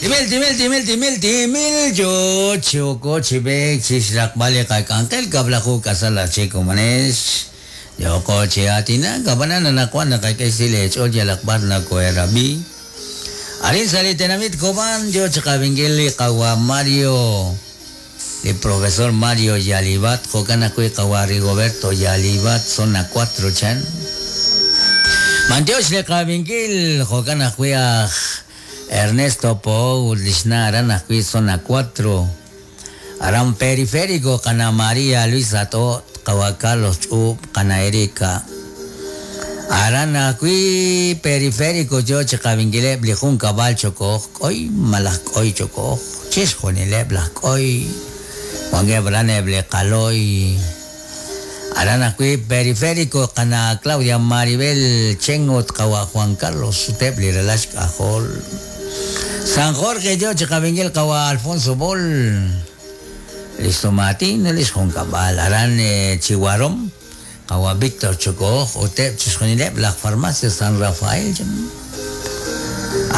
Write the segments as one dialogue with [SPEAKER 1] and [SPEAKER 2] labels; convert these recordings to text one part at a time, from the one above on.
[SPEAKER 1] Timil, timil, timil, timil, timil, yo yooko chi b'eek chi xraqb'al li qak'anjel kab'laju k'asal aj chik komonex. Yooko chi aatinak, ab'anan anaqwan naqak'e xsil eech'ool yalaq b'ar nakohe'rab'i. Arin sa' li tenamit Cobán yo chi qab'inkil li qawa' Mario, li profesor Mario Yalibat, jo'kan ajwi' qawa' Rigoberto Yalibat, zona cuatro chan. B'antiox li qab'inkil, jo'kan ajwi' aj Ernesto Poou ut lix na' aran ajwi' zona cuatro. Aran Periférico qana' María Luisa T'o', qawa' Carlos Ch'uub', qana' Erika. Aran ajwi' Periférico yo chi qab'inkileb' li junkab'al Chokoj K'oy malaj K'oy Chokoj, chixjunileb' laj K'oy, wankeb' aran eb' li Qaloy. Aran ajwi' Periférico qana' Claudia Maribel Chen ut qawa' Juan Carlos ut eb' li ralal xk'ajol. San Jorge yo chi qab'inkil qawa' Alfonso Bol, li xsumaatin ut li xjunkab'al. Aran Chihuarom qawa' Víctor Chokoj ut eb' chixjunileb' laj Farmacia San Rafael.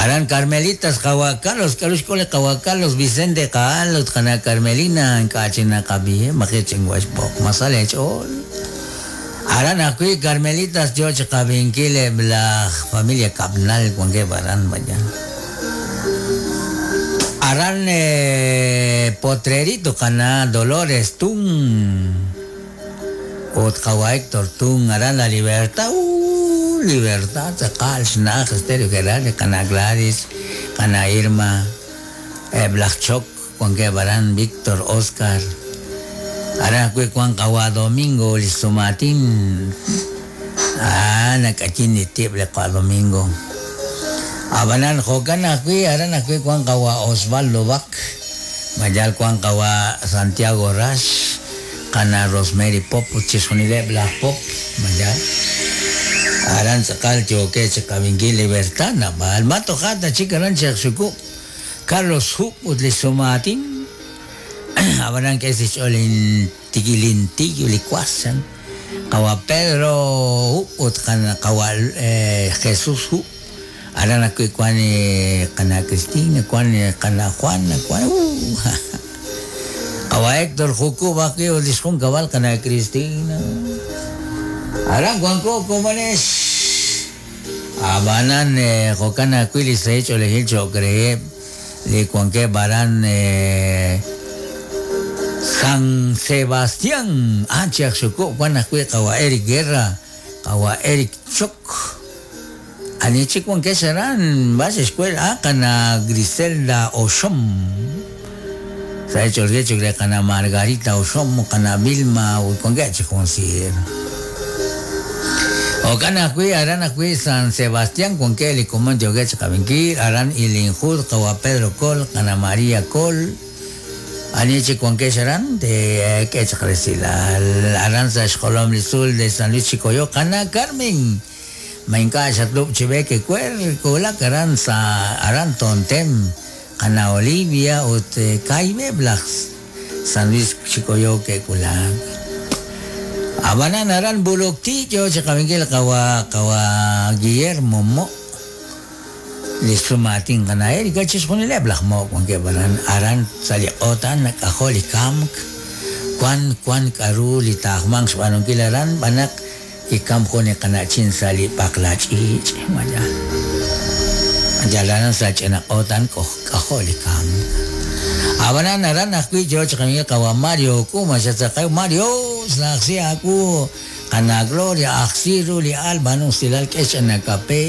[SPEAKER 1] Aran Carmelitas qawa' Carlos, k'aru xk'ul li qawa' Carlos Vicente Qaal ut qana' Carmelina ink'a' chik naqab'iheb' maji' chinwa xb'oq ma sa leech'ool. Aran ajwi' Carmelitas yo chi qab'inkil eb' laj familia Kab'nal wankeb' aran vaya. Aran Potrerito qana' Dolores Tun ut qawa' Hector Tun aran La Libertad, uuh Libertad tz'aqal xna'aj Estéreo Geral li qana' Gladys, qana' Irma, eb' laj Chok wankeb' aran Víctor, Oscar, aran ajwi' wank qawa' Domingo li xsumaatin, aa nak'ayin li tib' li qawa' Domingo. Ab'anan jo'kan ajwi' aran ajwi' wank qawa' Osvaldo Bac, mayal wank qawa' Santiago Rax, Qana' Rosemary Pop ut chixjunileb' laj Pop, mayal. Aran tz'aqal yookeb' chi qab'inkil Libertad naab'al. Ma toja' ta chik aran Cheq Xukub', Carlos Hub ut li xsumaatin. Ab'anan k'e sa' xch'ool lintiiy li was, chan. Qawa' Pedro Hub ut qawa' Jesús Hub. Aran ajwi' wank li qana' Cristina, wank li qana' Juana, wank uu Qawa' Hector Jukub ajwi' ut li xjunkab'al qana' Cristina. Aran wanko komonex. Ab'anan jo'kan ajwi' li sahil ch'oolejil cho'q reheb' li wankeb' aran San Sebastián. Ah, chi aj xukub' wank ajwi' qawa' Eric Guerra, qawa' Eric Choc. Ani chik wankex aran, b'ar xe'xwel a qana' Griselda Oxom. Sa' ch'oolge chik re qana' Margarita Oxom, qana' Vilma ut wankeb' chik jun siir. Jo'kan ajwi' aran ajwi' San Sebastián wankeb' li komon yookeb' chi qab'inkil, aran Ilinjud, qawa' Pedro Col, qana' María Col. Ani chik wankex aran, teek'e chaq resilal. Aran sa' xjolom li tzuul de San Luis Chicoyó, qana' Carmen. Ma ink'a' xatlub' chi b'eek ewer wulak aran sa' aran Tontem, qana' Olivia ut kaahib'eb' laj San Luis Chicoyó ke'wulak. Ab'anan aran Bulukti yo chi qab'inkil qawa' qawa' Guillermo Mo' li xsumaatin qana' Erika chixjunileb' laj Mo' wankeb' aran aran sa' li q'oot a'an nak'ajo' li kamk wan wan k'a'ru li taajmanq xb'aanunkil aran b'an naq Kikamk jun li qana'chin sa' li b'aqla ch'iich', malaj yal aran sa' ch'ina q'oot a'an k'ajo' li kamk. Ab'anan aran ajwi' yo chi qamiiw qawa' Mario Kuma xatzaqew Mario xna'ajsi aawu qana' Gloria ajsi ru li al b'aanu usilal k'e xch'ina kape.